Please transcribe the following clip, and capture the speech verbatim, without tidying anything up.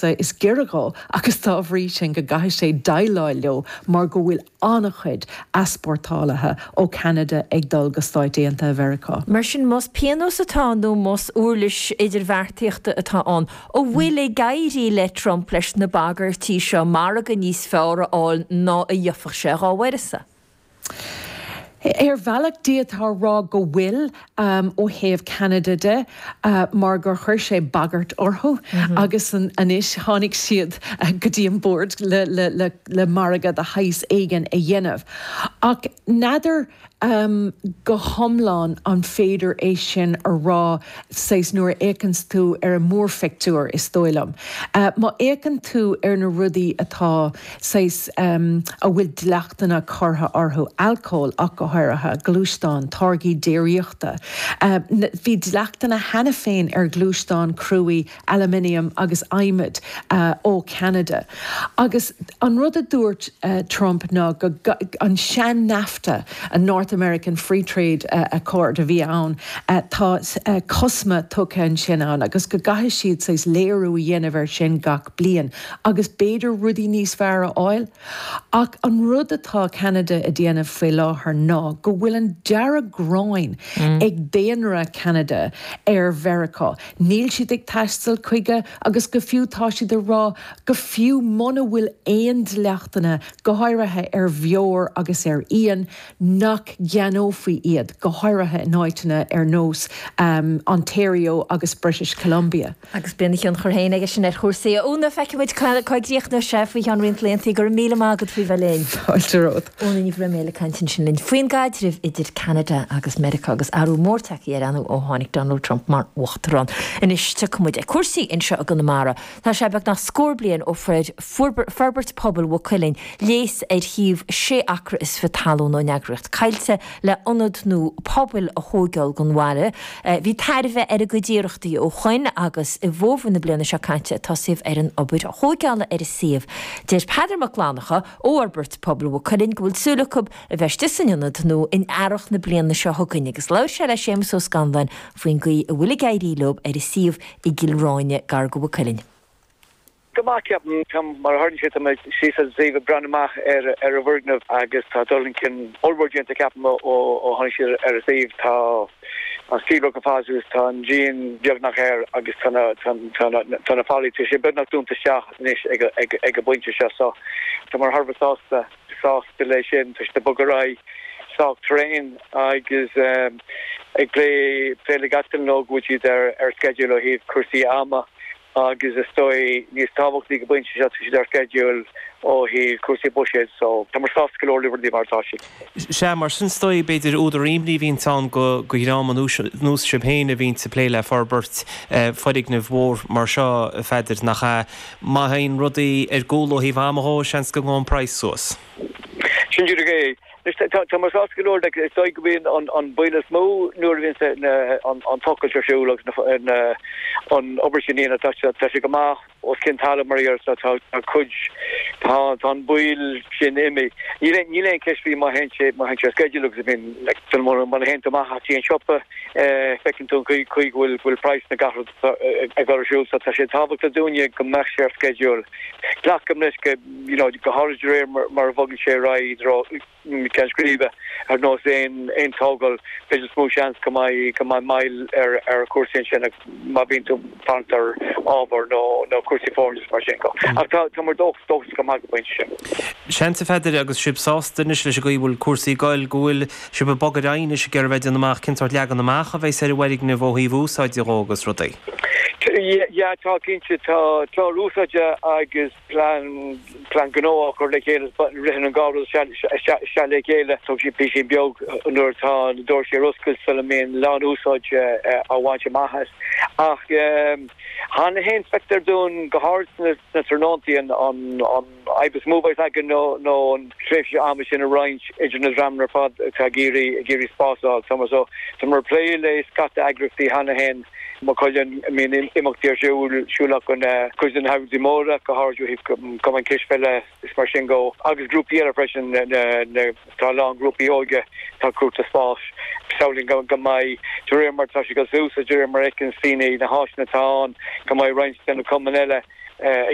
Is giorra dhó agus dá bhrí sin go gcaithfidh sé déileáil leo mar go bhfuil an-chuid easpórtálaithe ó Cheanada ag dul go Stáit Aontaithe Mheiriceá. Mar sin más pionós atá nó más uirlis idirbheartaíochta atá ann, an bhfuil ag éirí le Trump leis na bagairtí seo margadh níos fearr a fháil ná a gheobhadh sé dá uireasa. Ar bhealach d'fhéadfá a rá go bhfuil um, ó thaobh Canada de uh, mar gur chuir sé bagairt orthu mm -hmm. agus an anois tháinig siad uh, go dtí an bord le, le, le, le margadh de shaghas éigin a dhéanamh. Ach n'fheadar um, go hiomlán an féidir é sin a rá saghas nuair a fhéachann tú ar an mórphictiúr is dóigh liom. Uh, má fhéachann tú ar na rudaí atá saghas um, a bhfuil dleachtanna curtha orthu alcól ach go háirithe gluaisteáin táirgí déiríochta. Uh, bhí dleachtanna cheana féin ar ghluaisteáin cruaidh aluminium agus adhmad uh, ó Canada. Agus an rud a dúirt uh, Trump ná go, go, an sean NAFTA an North American Free Trade uh, Accord a bhí ann uh, tá uh, cosma tugtha ansin ann agus go gcaithfidh siad saghas léiriú a dhéanamh air sin gach bliain agus b'fhéidir rudaí níos fearr a fháil. Ach an rud atá Canada a dhéanamh faoi láthair ná go bhfuil an dearg-ghráin mm. ag daonra Canada ar Mheiriceá. Níl siad ag taisteal chuige agus go fiú tá siad ag rá go fiú muna bhfuil aon dleachtanna go háirithe ar bheoir agus ar fhíon nach gceannófaí iad go háirithe in áiteanna ar nós um, Ontario agus British Columbia. Agus bíonn tionchar féin aige sin ar chúrsaí. Úna feicfimid cá gcríochnóidh sé faoi cheann roinnt laethanta go raibh míle maith agat faoi bheith linn. Fáilte romhat. Úna Ní Bhroiméil ag caint ansin linn faoin gcaidreamh idir Canada agus Meiriceá agus athrú mór tagtha air ó tháinig Donald Trump mar uachtarán. Anois tiocfaimid ag cúrsaí anseo i gConamara. Tá sé beagnach scór bliain ó fuair Forbairt Pobail Mhaigh Cuilinn léas ar shuíomh sé acra is fiche talún ón eagraíocht Coillte le ionad nua pobail a thógáil don bhaile. Bhí tairbhe ar a gcuid iarrachtaí ó shin agus i bhfómhar na bliana seo caite tosaíodh ar an obair thógála ar an suíomh. Deir Peadar Mac Fhlannchadha ó Fhorbairt Pobail Mhaigh Cuilinn go bhfuil súil acu a bheith istigh san ionad nua in earrach na bliana seo chugainn agus labhair sé le Séamus Ó Scanláin faoin gcaoi a bhfuil ag éirí leo ar an suíomh i gCill Ráine gar do Mhaigh Cuilinn. Go maith ceapaim mar a tharlaíonn sé tá mé síos sa suíomh ag breathnú amach ar ar an bhfoirgneamh agus tá dul chun cinn ollmhór déanta ceapaim ó ó tháinig siad ar an suíomh tá an steelwork ar fad suas tá an díon beagnach air agus tá na tá na tá na fallaí tá sé beagnach dúnta isteach anois ag ag ag an bpointe seo so tá muid thar a bheith sásta sásta leis sin tá siad ag bogadh ar aghaidh sách tréan agus um, ag plé plé le gach duine go bhfuil siad ar ar schedule ó thaobh cúrsaí ama agus is dóigh níos tábhachtaí go bpointe seo siad ar schedule ó thaobh cúrsaí buiséid so tá muid sásta go leor le rudaí mar atá siad. Sea mar sin is dóigh b'fhéidir údar imní a bhíonn ann go go dhream nós sibh féin a bhíonn ag plé le forbairt foirgneamh mhór mar seo a Pheadair nach ea má théann rudaí ar gcúl ó thaobh ama dhó seans go ngabhann praghas suas. Sin díreach é. Tá muid sásta go leor is dóigh go mbíonn an an baol is mó nuair a bhíonn an an tochailt ar siúl agus an obair sin tá tá sé go maith os cionn talaimh mar tá tá cuid tá tá an baol sin imithe. Níl níl aon cheist faoi má théann sé má théann sé schedule agus bíonn má théann tú amach go dtí an siopa feiceann tú an chaoi go bhfuil bhfuil praghas na gach rud ag dul ar siúl so tá sé tábhachtach dúinne go mbeadh sé ar schedule. Glacaim leis go you know go háirid de réir mar a bhogann sé ar aghaidh ceann scríbe ar nós aon aon tógáil b'fhéidir is mó seans go mbeidh go mbeidh moill ar ar chúrsaí sin má bhíonn tú fanacht ar ábhar nó nó cúrsaí foirne mar sin go. Ach tá tá muid dóchasach dóchasach go maith go bpointe sin. Seans a Pheadair agus sibh sásta anois leis an gcaoi a bhfuil cúrsaí ag goil go bhfuil sibh ag bogadh ar aghaidh anois ag iarraidh bheith ag déanamh amach cén sórt leagan amach a bheas ar an bhfoirgneamh ó thaobh úsáide dhó agus rudaí. Yeah tá cinnte tá clár úsáide agus plean plean gnó á chur le chéile ritheann an dhá rud isteach le chéile tógann sé píosa beag nuair atá na doirse ar oscailt sula mbíonn lán úsáid á bhaint amach as. Ach cheana féin feictear dúinn go háirid sna tráthnóntaí an an an fhadhb is mó a bheas againn nó nó an tréimhse ama sin a roinnt idir na dreamanna ar fad atá ag iarraidh ag iarraidh spás a fháil. Tá so tá muid ag plé le scata eagraíochtaí cheana féin Maigh Cuilinn a mbíonn imeachtaí ar siúl siúl acu cuid de na heagraíochtaí móra go háirid cumann cispheile is mar sin go agus grúpaí eile freisin tá a lán grúpaí óige atá ag cuartú spáis. Samhlaím go go mbeidh de réir mar atá sé ag dul suas de réir mar a fheiceann daoine na háiseanna atá ann go mbeidh roinnt de na cumainn eile ag